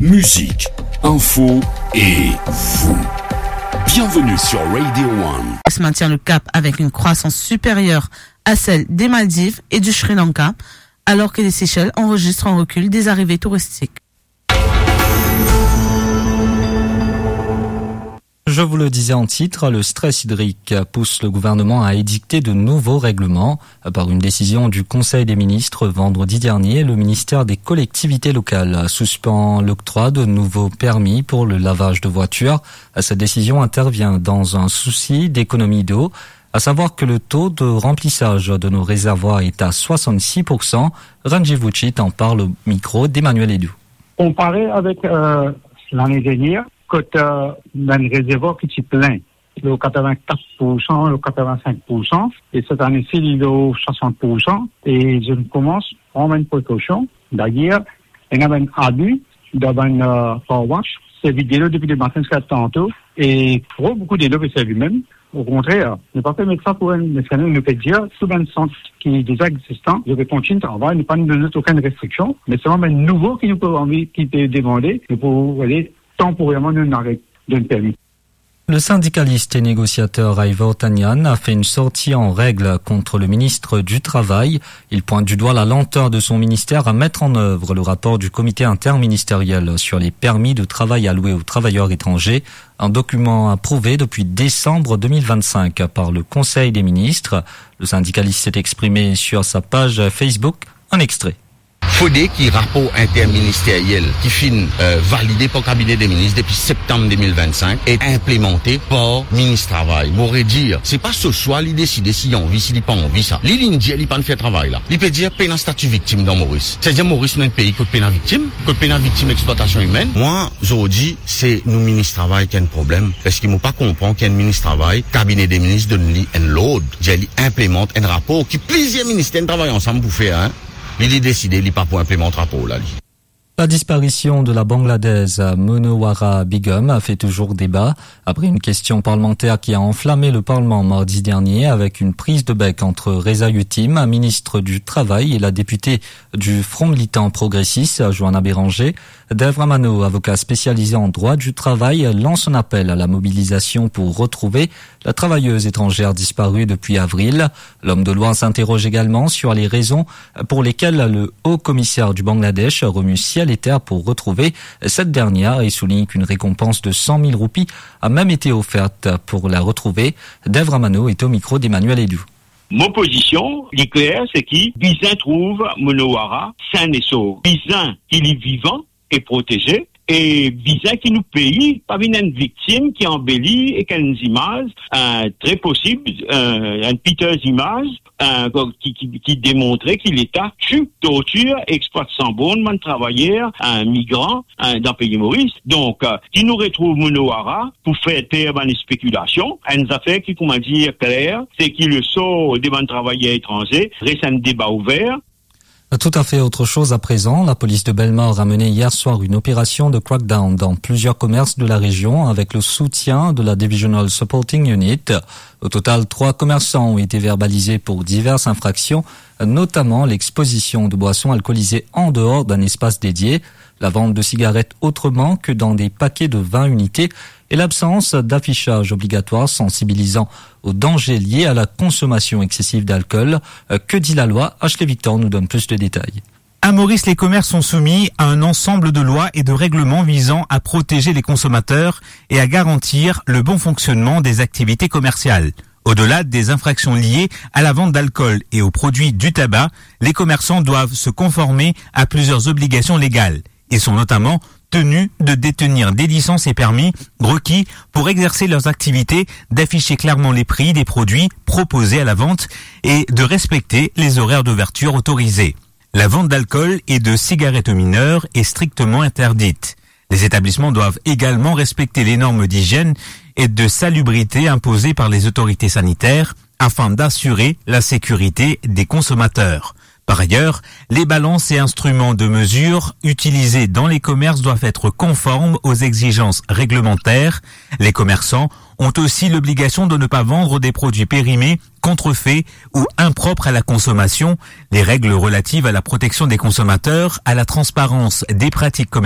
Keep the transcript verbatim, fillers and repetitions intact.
Musique, info et vous. Bienvenue sur Radio One. Maintient le cap avec une croissance supérieure à celle des Maldives et du Sri Lanka, alors que les Seychelles enregistrent un recul des arrivées touristiques. Je vous le disais en titre, le stress hydrique pousse le gouvernement à édicter de nouveaux règlements. Par une décision du Conseil des ministres vendredi dernier, le ministère des Collectivités locales suspend l'octroi de nouveaux permis pour le lavage de voitures. Cette décision intervient dans un souci d'économie d'eau, à savoir que le taux de remplissage de nos réservoirs est à soixante-six pour cent. Ranji Vucci en parle au micro d'Emmanuel Edou. Konpare avek, euh, lane dernier, kot, euh, bann rezervwar ki ti plin, lor katrevin-kat pour san, lor katrevin-sink pour san, e set ane si li lor swasant pour san, e zot inn koumans pran bann prekosion. Dayer, ena bann abi dan bann, euh, car wash, servi delo depi lematin ziska tanto, e tro boukou delo pe servi mem. Okontrer, nou pa pe met sa pou enn, me sa nou, nou pe dir tou bann sant ki deza egzistan, zot pe kontign travay, nou pa donn zot okenn restriksion, me selman bann nouvo ki nou pe anvi, ki pe demande, nou pou ale tanporerman nou aret donn permi. Le syndicaliste et négociateur Ivor Tanian a fait une sortie en règle contre le ministre du Travail. Il pointe du doigt la lenteur de son ministère à mettre en œuvre le rapport du comité interministériel sur les permis de travail alloués aux travailleurs étrangers, un document approuvé depuis décembre deux mille vingt-cinq par le Conseil des ministres. Le syndicaliste s'est exprimé sur sa page Facebook. Un extrait. Fode ki rapor interministeriel ki finn, euh, valide par kabine de minis depi septam de mil vinn-sink e inplemante par minis travay. Mo redir, se pa so swa li deside si li anvi, si li pa anvi sa. Li, li dir li pa'nn fer travay la. Li pe dir pena stati viktim dan Moris. Savedir Moris nou enn pei kot pena viktim, kot pena viktim leksplwatasion imenn. Mwa, zordi, se nou minis travay ki enn problem, parski mo pa konpran ki enn minis travay, kabine de minis donn li enn lord, dir li inplemant enn rapor ki plizier minister inn travay ansam pou fer, hein. Li, li deside, li pa pou inplemant rapor la, li. La disparition de la Bangladèse Monowara Begum a fait toujours débat. Après une question parlementaire qui a enflammé le Parlement mardi dernier avec une prise de bec entre Reza Yuttim, ministre du Travail, et la députée du Front Militant Progressiste, Johanna Béranger, Dev Ramano, avocat spécialisé en droit du travail, lance un appel à la mobilisation pour retrouver la travailleuse étrangère disparue depuis avril. L'homme de loi s'interroge également sur les raisons pour lesquelles le haut commissaire du Bangladesh remue ciel et terre pour retrouver cette dernière et souligne qu'une récompense de cent mille roupies a même été offerte pour la retrouver. Dev Ramano est au micro d'Emmanuel Edou. Mo pozision, li kler, se ki bizin trouv Monowara sain e sov. Bizin ki li vivan e proteze, e bizin ki nou pei pa vinn enn viktim ki anbeli ek enn zimaz, eh, tre posib, eh, enn piteuse imaz, eh, ki, ki, ki demontre ki Leta ti tortir e explwat san born bann travayer, eh, migran, eh, dan pei Moris. Donk, eh, ki nou retrouv Monowara pou fer per bann spekilasion, enn zafer ki, kouma dir, kler, se ki lesor de bann travayer etranze res enn deba ouver. Tout à fait autre chose à présent. La police de Bellemare a mené hier soir une opération de crackdown dans plusieurs commerces de la région avec le soutien de la Divisional Supporting Unit. Au total, trois commerçants ont été verbalisés pour diverses infractions, notamment l'exposition de boissons alcoolisées en dehors d'un espace dédié, la vente de cigarettes autrement que dans des paquets de vingt unités et l'absence d'affichage obligatoire sensibilisant aux dangers liés à la consommation excessive d'alcool. Euh, que dit la loi ? Ashley Victor nous donne plus de détails. À Maurice, les commerces sont soumis à un ensemble de lois et de règlements visant à protéger les consommateurs et à garantir le bon fonctionnement des activités commerciales. Au-delà des infractions liées à la vente d'alcool et aux produits du tabac, les commerçants doivent se conformer à plusieurs obligations légales. Ils sont notamment tenus de détenir des licences et permis requis pour exercer leurs activités, d'afficher clairement les prix des produits proposés à la vente et de respecter les horaires d'ouverture autorisés. La vente d'alcool et de cigarettes aux mineurs est strictement interdite. Les établissements doivent également respecter les normes d'hygiène et de salubrité imposées par les autorités sanitaires afin d'assurer la sécurité des consommateurs. Par ailleurs, les balances et instruments de mesure utilisés dans les commerces doivent être conformes aux exigences réglementaires. Les commerçants ont aussi l'obligation de ne pas vendre des produits périmés, contrefaits ou impropres à la consommation. Les règles relatives à la protection des consommateurs, à la transparence des pratiques commerciales